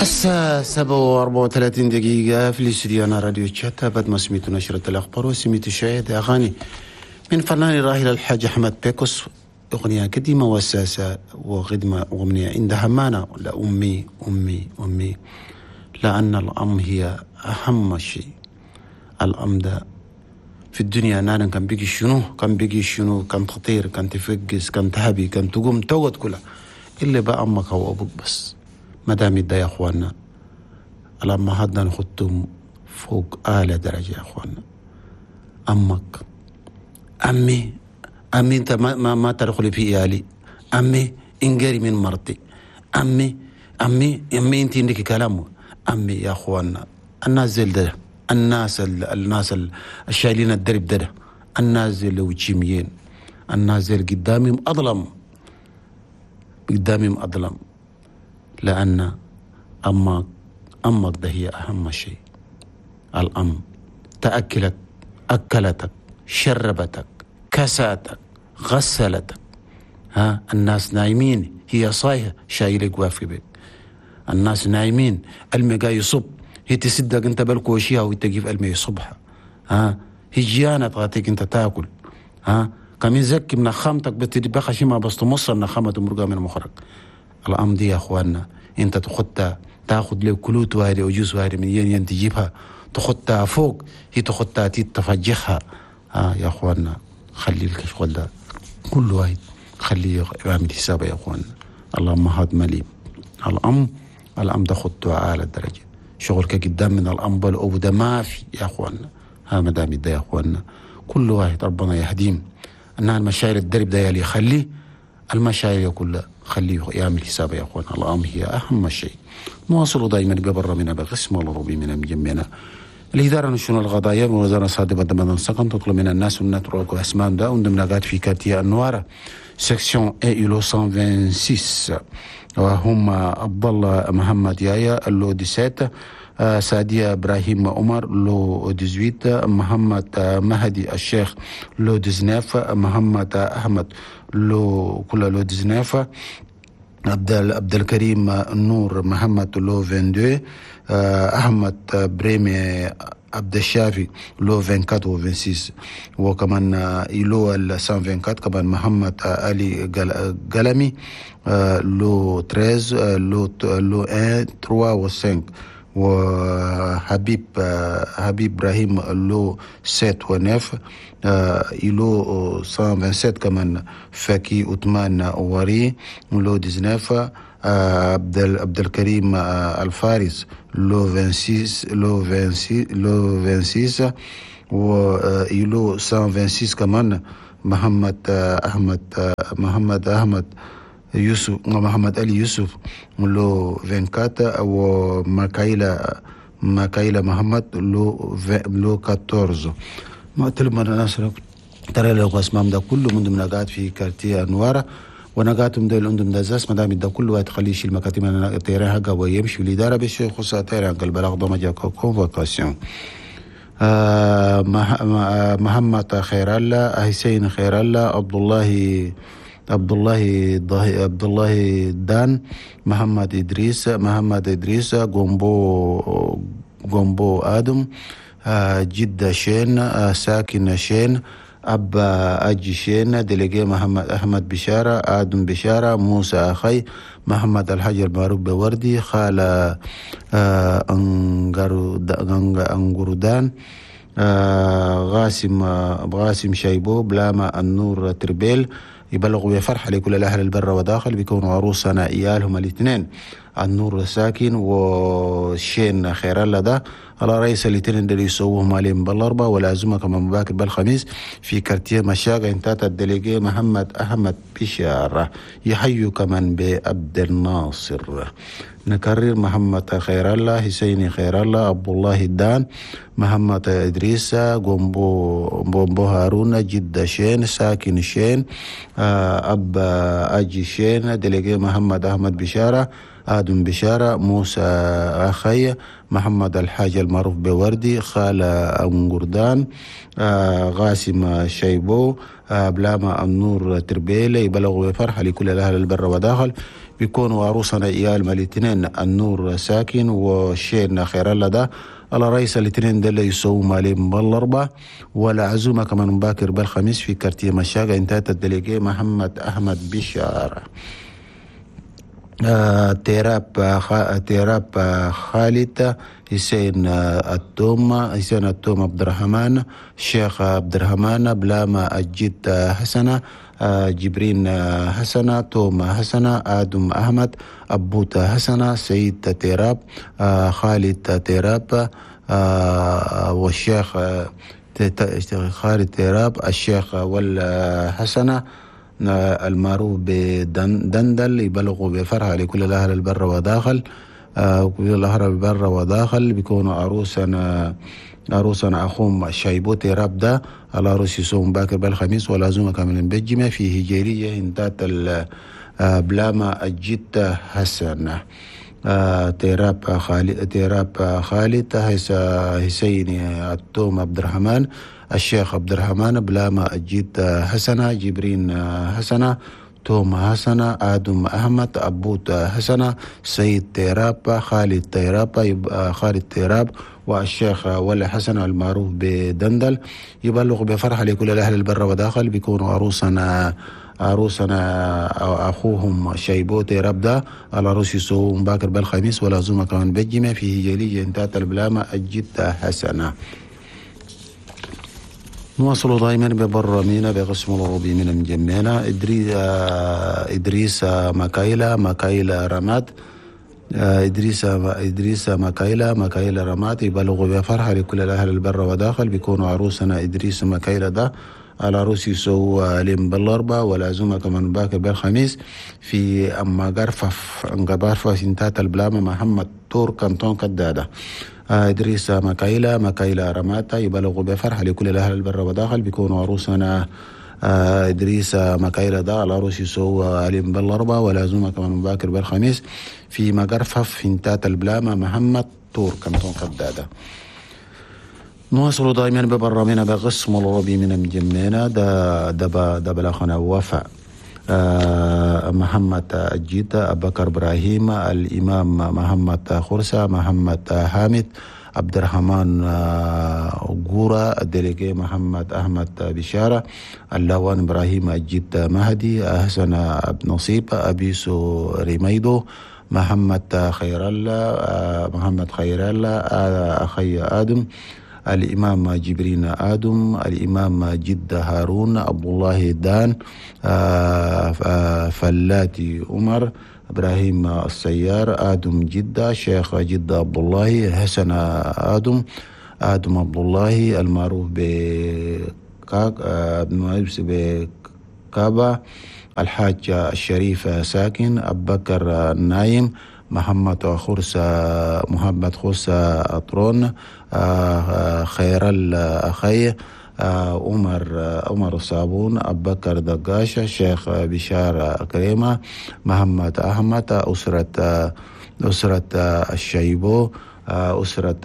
الساعة 7:34 في الاستديو أنا راديو تشاتا. بعد ما سميت نشرة الأخبار وسميت شاهد أغاني من فنان الراحل الحاج أحمد بيكوس، أغنية قديمة وساسة وخدمة أغنية عندها معنى. لأمي أمي أمي، لأن الأم هي أهم شيء. الأم ده في الدنيا نانا كان بيجي شنو، كان بيجي شنو، كان تطير، كان تفقس، كان تهبي، كان تقوم تقعد كلها اللي بقى أمك أو أبوك بس. ما دام ده يا أخوانا الأمهات نخدتهم فوق أعلى درجة يا أخوانا. أمك، أمي، أمي أنت ما تدخلي في إيالي، أمي انقري من مرتي، أمي أمي أمي أنت عندك كلام. أمي يا أخوانا الناس زي ده، الناس الشايلين الدرب ده، الناس اللي وجيميين، الناس اللي قدامهم أظلم، قدامهم أظلم. لأن أمك ده هي أهم شيء. الأم تأكلك، أكلتك، شربتك، كساتك، غسلتك. ها الناس نايمين هي صايحة شايلك وافي بك. الناس نايمين المي يصب، هي تصدق انت بالكوشيها وتجيب المي يصبها. ها هي جيانة تغطيك انت تاكل. ها كم يزكي من خامتك بتدبخ شي ما بس تمص من خامة مرقة من مخرج. الأم دي يا اخواننا انت تخدها، تاخد له كلوت واري وجوز واري من ين تجيبها تخدها فوق، هي تخدها تفجخها. ها يا اخواننا خلي الشغل ده كل واحد خليه يعمل حسابه يا اخواننا. اللهم هاد مليم. الأم ده خدتها أعلى درجة. شغلك قدام من الأم بالأبو ده ما في يا اخواننا. ها مدام ده يا اخواننا كل واحد ربنا يهديم. أنها المشاعر الدرب ده يلي يخليه المشاعر كلها خليه يعمل حسابه يا اخوان. الأم هي أهم شيء. نواصل دائما ببر من بقسم والربي من مجمعنا الإدارة نشون الغضايا ووزارة صادقة بدن سكن تطلب من الناس ونترك أسماء دا وندم في quartier النوارة section A lot 126، وهم عبد الله محمد يايا lot 17، سعدية إبراهيم عمر lot 18، محمد مهدي الشيخ lot 19، محمد أحمد lot كل lot 19، عبد الكريم نور محمد lot 22، أحمد بريمي عبد الشافي lot 24 و 26، وكمان lot 124 كمان محمد علي قلمي lot 13 lot 1 3 و 5، وحبيب حبيب ابراهيم lot 7 و 9، lot 127 كمان فكي عثمان وري lot 19، عبد الكريم الفارس lot 26 lot 26 lot 26، و lot 126 كمان محمد احمد محمد احمد يوسف محمد علي يوسف lot 24، وماكايلا محمد lot 14. ما تلم الناس ترى لو اسمام ده كله من ضمن قاعد في quartier انواره ونقاتهم ديل عندهم دزاس ما دام ده كله واحد خليه يشيل مكاتب ال terrain حقه ويمشي الادارة باش يخص terrain البلاغ ده ما convocation. محمد خير الله، حسين خير الله، عبد الله دان، محمد ادريس، غومبو ادم، جدة شين، ساكن شين، أبا أجي شين، délégué محمد أحمد بشارة، آدم بشارة، موسى أخي، محمد الحاج المعروف بوردي، خالة أنجردان، غاسم شايبو، بلاما النور تربيل. يبلغوا بفرحة لكل الأهل البر وداخل بيكونوا عروسنا إيالهم الاثنين النور ساكن وشين خير الله ده على رئيس الاثنين اللي يسووهم عليهم بالأربعة والعزومة كمان مباكر بالخميس في quartier مشاقة انتات ال délégué محمد أحمد بشارة يحيوا كمان بعبد الناصر. نكرر محمد خير الله، حسين خير الله، عبد الله الدان، محمد إدريس، غومبو هارون، جدة شين، ساكن شين، أب أجي شين، délégué محمد أحمد بشارة، آدم بشارة، موسى أخي، محمد الحاج المعروف بوردي، خالة أنقردان، غاسم شيبو، بلاما النور تربيلة. يبلغوا بفرحة لكل الأهل البر وداخل. بيكونوا عروسنا إيال الاثنين النور ساكن وشيرنا خير الله ده على رئيس الاثنين ده اللي يسووا مالين بالأربعة، والعزومة كمان مباكر بالخميس في كارتيه مشاقة انتهت الدليجي محمد أحمد بشارة. تيراب خالد، حسين التوم، حسين التوم عبد الرحمن، الشيخ عبد الرحمن، بلاما الجد حسنة، جبرين حسنة، توم حسنة، آدم أحمد، أبوت حسنة، سيد تيراب، خالد تيراب، والشيخ خالد تيراب، الشيخ والحسنة المعروف بدندل. يبلغوا بفرحة لكل الأهل البر وداخل، كل الأهل البر وداخل. بيكونوا عروسنا أخوهم شايبو تيراب ده العروس يصوم باكر بالخميس والعزومة كامل بالجمع في هجيرية انتات بلاما الجد حسن. تيراب خالد، تيراب خالد، حسين التوم عبد الرحمن، الشيخ عبد الرحمن، بلاما الجد حسنة، جبرين حسنة، توم حسنة، آدم أحمد، أبوت حسنة، سيد تيراب، خالد تيراب، خالد تيراب، والشيخ ولا حسن المعروف بدندل. يبلغ بفرحة لكل الأهل البر وداخل. بيكونوا عروسنا أخوهم شيبو تيراب ده العروس يسوم باكر بالخميس والعزومة كمان بالجمع في هجلية انتات البلامة الجد حسنة. نواصل دائما ببرامينا بقسم العربي من مجمعنا. إدريس مكايلة، مكايلة رماد، إدريس مكايلة، مكايلة رماد. يبلغوا بفرحة لكل الأهل البر وداخل. بيكونوا عروسنا إدريس مكايلة ده العروس يسووا لهم بالأربعة والعزومة كمان باكر بالخميس في أما قرفف انقبارفة سنتات البلامة محمد تور كانتون كدادة. إدريس مكايلة، مكايلة رماتا. يبلغوا بفرحة لكل الأهل البر وداخل. بيكونوا عروسنا إدريس مكايلة ده العروس يسووا لهم بالأربعة والعزومة كمان باكر بالخميس في مقرفف سنتات البلامة محمد تور كانتون كدادة. نواصل دائما ببرامنا بقسم العربي من مجمعنا ده دبا دبلخنا وفاء، محمد الجيد، أبكر إبراهيم، الإمام محمد خرسة، محمد حامد، عبد الرحمن غورا، الدليجي محمد أحمد بشارة، اللوان إبراهيم الجيد مهدي، حسن نصيب، أبيسو ريميدو، محمد خير الله، محمد خير الله، أخي آدم، الإمام جبرين آدم، الإمام جد هارون، عبد الله دان، فلاتي عمر، إبراهيم السيار، آدم جدة، شيخ جدة عبد الله، حسن آدم، آدم عبد الله المعروف بكابا، الحاج الشريف ساكن، أبو بكر النايم، محمد خرسة، محمد خرسة أطرون، خير الأخي، عمر الصابون، أبو بكر دقاشة، شيخ بشار كريمة، محمد أحمد، أسرة الشيبو، أسرة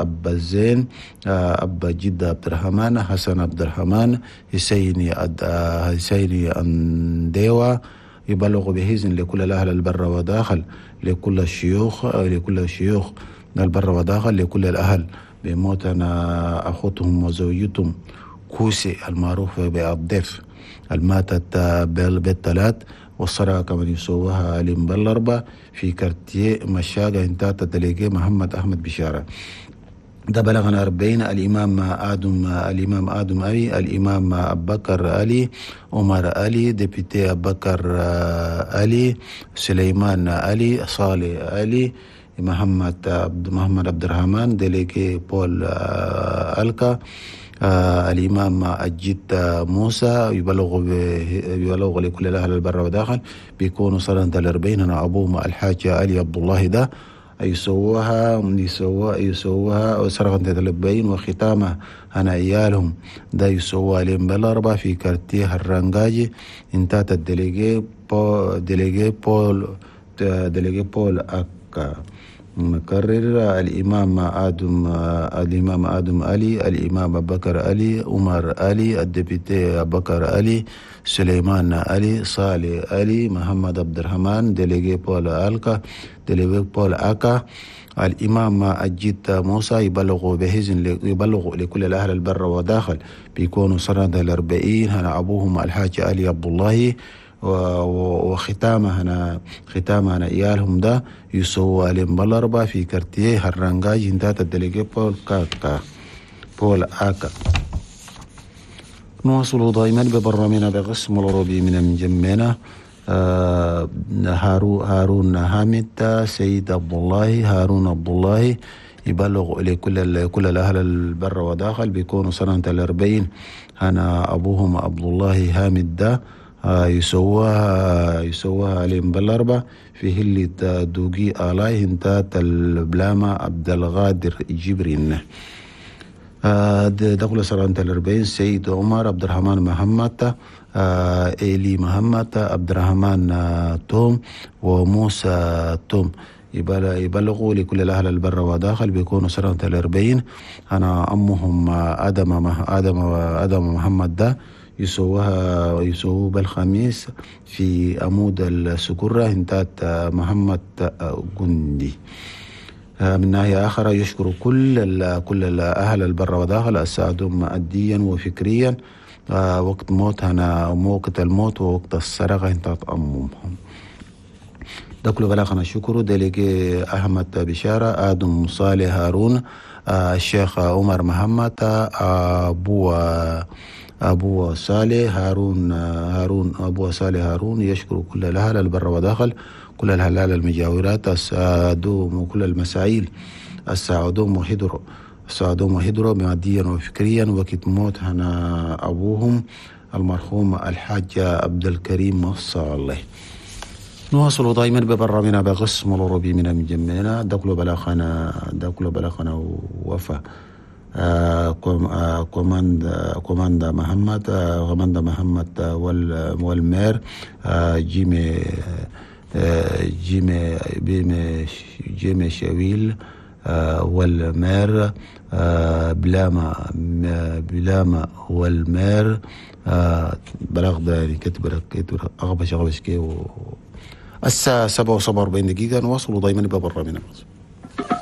أبا الزين، أبا جدة عبد الرحمن، حسن عبد الرحمن، حسيني أنديوة. يبلغ بهزن لكل الأهل البر وداخل، لكل الشيوخ، لكل الشيوخ البر وداخل، لكل الأهل بموتنا أخوتهم وزوجتهم كوسي المعروف بالضيف الماتت بالثلاث، والصلاة كمان يسووها لمبلربة في كارتيه مشاقة انتات دليجي محمد أحمد بشارة. ده بلغنا 40. الإمام آدم، الإمام آدم أبي، الإمام أبو بكر علي، عمر علي، ديبيتي أبو بكر علي، سليمان علي، صالح علي، محمد عبد الرحمن، ديليجي بول ألكا، الإمام الجد موسى. يبلغ لكل الأهل البر وداخل. بيكونوا صلاة 40. أنا أبوهم الحاج علي عبد الله ده يسووها سرقة البين وختامه أنا عيالهم ده يسووها لهم بالأربعة في كارتيه الرنجاجي انتات الدليجي بول délégué بول أكا. نكرر: الإمام آدم، الإمام آدم علي، الإمام أبو بكر علي، عمر علي، ال député أبو بكر علي، سليمان علي، صالح علي، محمد عبد الرحمن، délégué بول ألكا، délégué بول أكا. الإمام أجيت موسى يبلغ بحزن، يبلغ لكل الأهل البر وداخل، بيكونوا سنة 40 هنا أبوهم الحاج علي عبد الله، وختامها هنا، ختامها هنا إيالهم ده يسوى لهم في quartier هرانجاج هنتات ال délégué بول كاكا، بول آكا. نواصل دائما ببرنامجنا بقسم الأوروبي من مجمعنا. هارون حامد، سيد عبد الله، هارون عبد الله يبلغ لكل كل الأهل البر وداخل، بيكونوا سنة 40 هنا أبوهم عبد الله حامد ده، يسووها عليهم بالأربعة في هلة دوغي آلاي هنتات البلامة عبد الغادر جبرين. دخل سنة 40. سيد عمر، عبد الرحمن محمد، إيلي محمد، عبد الرحمن توم، وموسى توم يبلغوا لكل الأهل البر وداخل، بيكونوا سنة 40 أنا أمهم آدم محمد ده، يسووه بالخميس في عمود السكرة هنتات محمد جندي. من ناحية أخرى يشكر كل الأهل البر وداخل الساعدهم ماديا وفكريا وقت موت هنا، وقت الموت ووقت السرقة هنتات أمهم ده. كل بلاغنا شكر délégué أحمد بشارة، آدم صالح، هارون، الشيخ عمر محمد، أبو صالح هارون، هارون أبو صالح هارون يشكر كل الأهل البر وداخل، كل الهلال المجاورات السادوم وكل المسائل الساعدوم وحضروا، الساعدوم وحضروا ماديا وفكريا وقت موت هنا أبوهم المرحوم الحاج عبد الكريم صالح. نواصل دائما ببرنامجنا بقسم الأوروبي من مجمعنا. دخلوا بلاخنا، دخلوا بلاخنا وفا كوماندا محمد، كوماندا محمد وال maire جيمي جيمي بيمي جيمي شويل وال maire بلاما، بلاما وال maire. بلاغ ده يعني كتب أغبش أغبش كي. الساعة 7:47 نواصل دائما ببرنامجنا.